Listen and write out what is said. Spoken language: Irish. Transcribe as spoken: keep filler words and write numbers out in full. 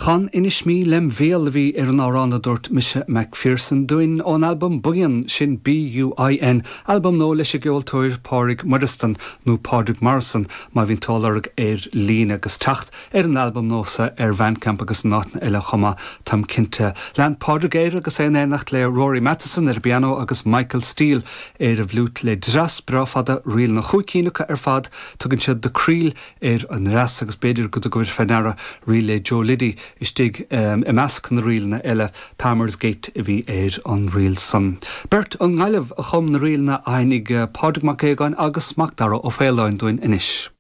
Chan Inis Mí lem bhéal a bhí ar an amhrán a dúirt Mise McPherson dúinn ón albam Buíon sin BUIN, albam nua leis an gceoltóir Pádraig Moireasdan nó Pádraig Morrison má bhíonn tú á lorg ar líne agus teacht ar an albam nua ar Bandcamp agus in áiteanna eile chomh maith táim cinnte. Lean Pádraig air agus é in éineacht le Rory Matheson ar an bpianó agus Michael Steele ar an bhfliúit le dreas breá fada ríleanna chúig cinn acu ar fad tugann siad The Creel ar an ndreas agus b'fhéidir go dtugabhair faoi deara ríl le Joe Liddy istigh um, i measc na ríleanna eile Palmer's Gate a bhí ar an ríl san. Beirt ón nGaillimh a chum na ríleanna a sheinneann Pádraig Mac Aogáin agus Macdara Ó Faoláin dúinn anois.